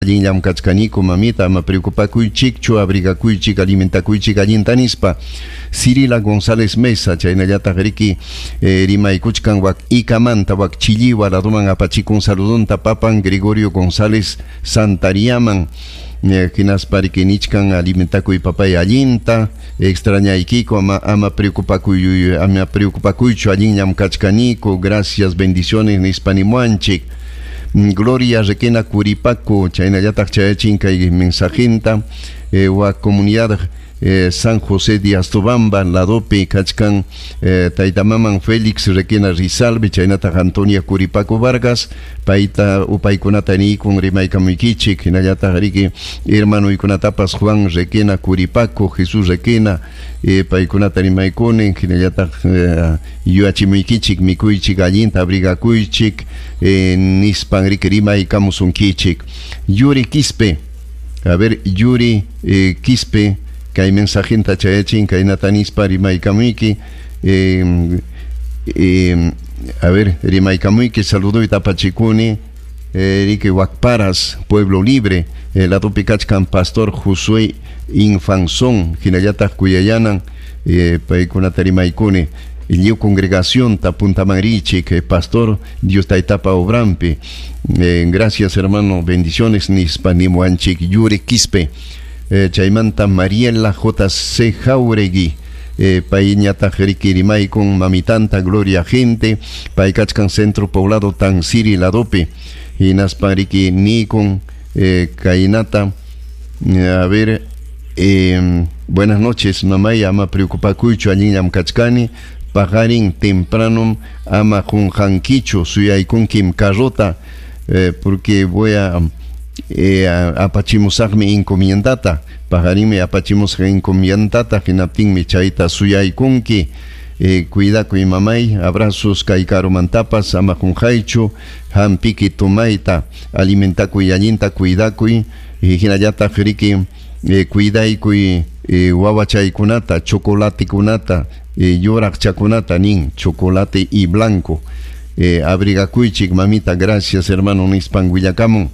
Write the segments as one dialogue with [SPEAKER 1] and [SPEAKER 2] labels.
[SPEAKER 1] Allinllam kachkaniku mamita, ama preocupakuychikchu, abrigakuychik, alimentakuychik allinta nispa. Cirila González Mesa, chaynallataq riki rimaykuchkan wak Ikamanta, wak Chilliwa laduman apachikun saludunta papan Gregorio González Santariaman. Hinaspa riki nichkan alimentakuy papay allinta, extrañaykiku, ama preocupakuy, ama preocupakuychu, allinllam kachkaniku, gracias, bendiciones nispa nimuanchik. Gloria Requena Curipaco, chaynallataq chayachin kay mensajinta, wa comunidad San José de Astobamba, ladopi kachkan taytamaman Félix Requena Rizalbe, chaynataq Antonia Curipaco Vargas, payta upaykunata niykun rimaykamuykichik, hinallataq riki hermanuykunatapas Juan Requena Curipaco, Jesús Requena, paykunata rimaykuni, hinallataq yuyachimuykichik, mikuychik allinta, abrigakuychik, nispan riki rimaykamusunkichik. Yuri Quispe, a ver, Yuri Quispe, kay mensajinta chayachin, kaynata nispa rimaykamuyki, a ver, rimaykamuyki, saluduyta apachikuni, riki Wakparas, Pueblo Libre, ladopi kachkan Pastor Josué Infanzón, hinallataq kuyayanan, paykunata rimaykuni, lliw congregación tapuntaman richik, Pastor Dios taytapa obrampi, gracias hermano, bendiciones nispa nimuanchik. Yuri Quispe, chaymanta Mariela J.C. Jauregui, payñataq riki rimaykun mamitanta Gloria Gente, pay kachkan Centro Poblado Tansiri ladopi, hinaspa riki nikun kaynata, a ver, buenas noches mamay, ama preocupakuychu, allinllam kachkani, paqarin temprano ama qunqankichu, suyaykunkim carrota, porque voy a apachimusaqmi encomiendata, paqarinmi apachimusaq encomiendata, hinaptinmi chayta suyaykunki, cuidakuy mamay, abrazos kay karumantapas, ama qunqaychu, hampiki tumayta, alimentakuy allinta, cuidakuy, hinallataq riki cuidaykuy wawachaykunata, chocolatikunata, yuraqchakunata nin, chocolate y blanco, abrigakuychik mamita, gracias hermano nispan willakamun.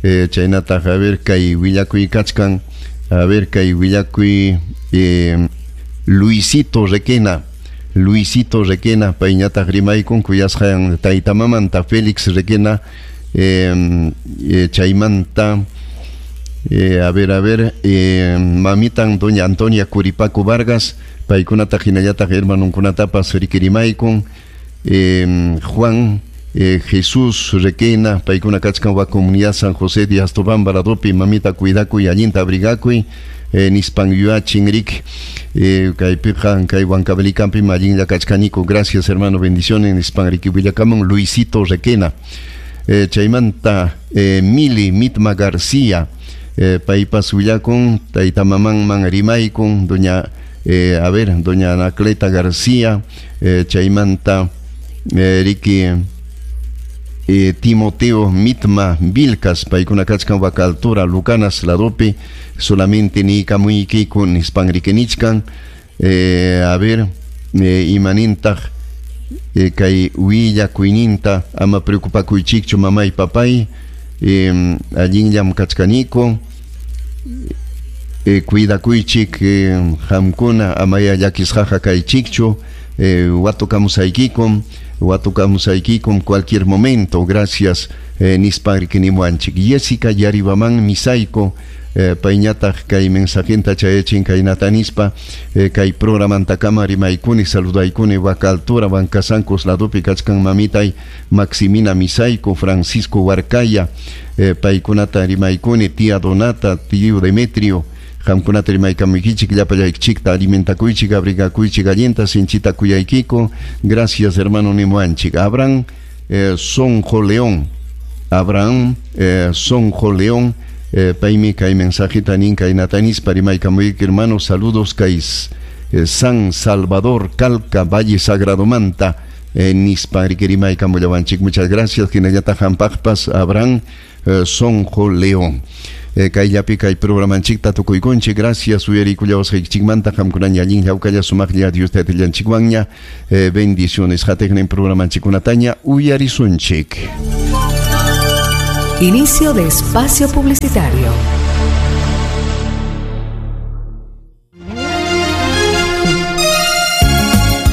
[SPEAKER 1] Chaynataq, a ver, kay willakuy kachkan, a ver, kay willakuy Luisito Requena, Luisito Requena, payñataq rimaykun kuyasqan taytamamanta Félix Requena, chaymanta, a ver, mamitan doña Antonia Curipaco Vargas, paykunata hinallataq hermanunkunatapas riki rimaykun, Juan Jesús Requena, paykuna kachkan wa comunidad San José de Astobamba ladopi, mamita cuidakuy, allinta abrigakuy, nispan yuachin rik, kaypiqa kay Huancavelicapi allinlla kachkaniku, gracias hermano, bendiciones nispan riki willakamun Luisito Requena. Chaymanta Mili Mitma García, paypas willakun taytamamanman rimaykun, doña a ver, doña Anacleta García, chaymanta riki Timoteo Mitma Vilcas, paykuna kachkan waka altura Lucanas ladopi, solamente nikamuykiku nispan rikinichkan, a ver, imanintaq kay willakuyninta, ama preocupakuychikchu mamay papay, allinllam kachkaniku, cuidakuychik qamkuna, amaya llakisqaqa kaychikchu, watukamusaykikum, watukamusaykikum cualquier momento, gracias nispan rikinimuanchik. Jessica Yaribaman Misayko, payñataq kay mensajinta chayachin kaynata nispa, kay programantakama rimaykuni, saludaykuni waka altura Huancasancos ladopi kachkan mamitay Maximina Misayko, Francisco Huarcaya, paykunata rimaykuni, tía Donata, tío Demetrio, qamkunata rimaykamuykichik, llapallaykichikta alimentakuychik, abrigakuychik allinta, sinchita kuyaykiku, gracias hermano nimuanchik. Abraham Sonjo León, Abraham Sonjo León, paymi kay mensajita nin kaynata nispa rimaykamuyki hermano, saludos kay San Salvador Calca, Valle Sagrado Manta, nispa rimaykamullawanchik. Muchas gracias hinallataq hampaqpas Abraham Sonjo León. Kayllapi kay programanchikta tukuykunchik, gracias uyarikullawasqaykichikmanta, qamkunaña allin hawkalla sumaqlla Dios taytallanchikwanña, bendiciones. Hatiqnin programanchikkunataña uyarisunchik.
[SPEAKER 2] Inicio de espacio publicitario.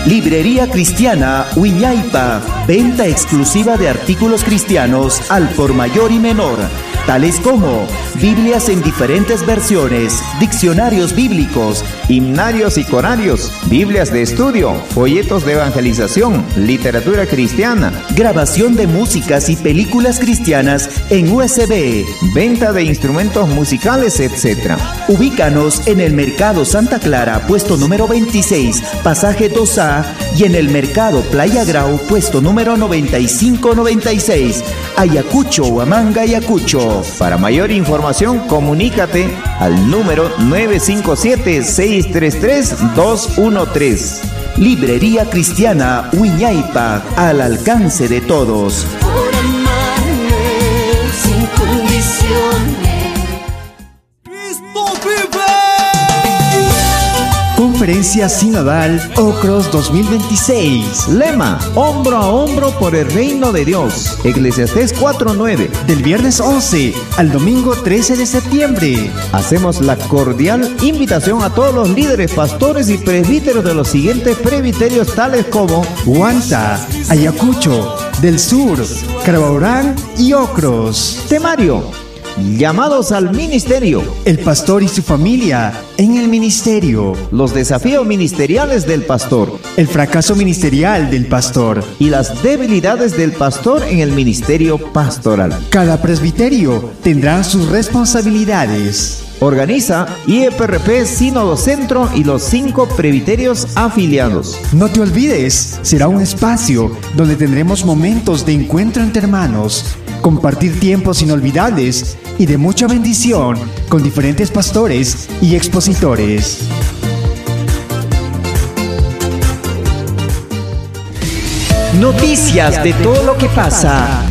[SPEAKER 3] Librería Cristiana Wiñaypa, venta exclusiva de artículos cristianos al por mayor y menor, tales como Biblias en diferentes versiones, diccionarios bíblicos,
[SPEAKER 4] himnarios y corarios, Biblias de estudio, folletos de evangelización, literatura cristiana,
[SPEAKER 3] grabación de músicas y películas cristianas en USB,
[SPEAKER 4] venta de instrumentos musicales, etc.
[SPEAKER 3] Ubícanos en el Mercado Santa Clara, puesto número 26, pasaje 2A, y en el Mercado Playa Grau, puesto número 9596, Ayacucho, Huamanga, Ayacucho.
[SPEAKER 4] Para mayor información, comunícate al número 957-633-213.
[SPEAKER 3] Librería Cristiana Wiñaypa, al alcance de todos.
[SPEAKER 5] Por amarme sin condiciones.
[SPEAKER 6] ¡Cristo vive!
[SPEAKER 3] Conferencia Sinodal Ocros 2026.
[SPEAKER 4] Lema, hombro a hombro por el reino de Dios. Eclesiastés 4:9.
[SPEAKER 3] Del viernes 11 al domingo 13 de septiembre.
[SPEAKER 4] Hacemos la cordial invitación a todos los líderes, pastores y presbíteros de los siguientes presbiterios tales como
[SPEAKER 3] Huanta, Ayacucho, del Sur, Carabaurán y Ocros.
[SPEAKER 4] Temario, llamados al ministerio.
[SPEAKER 3] El pastor y su familia en el ministerio.
[SPEAKER 4] Los desafíos ministeriales del pastor.
[SPEAKER 3] El fracaso ministerial del pastor.
[SPEAKER 4] Y las debilidades del pastor en el ministerio pastoral.
[SPEAKER 3] Cada presbiterio tendrá sus responsabilidades.
[SPEAKER 4] Organiza IEPRP Sínodo Centro y los 5 presbiterios afiliados.
[SPEAKER 3] No te olvides, será un espacio donde tendremos momentos de encuentro entre hermanos, compartir tiempos inolvidables y de mucha bendición con diferentes pastores y expositores.
[SPEAKER 7] Noticias de todo lo que pasa,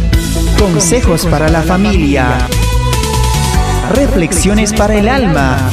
[SPEAKER 7] consejos para la familia, reflexiones para el alma.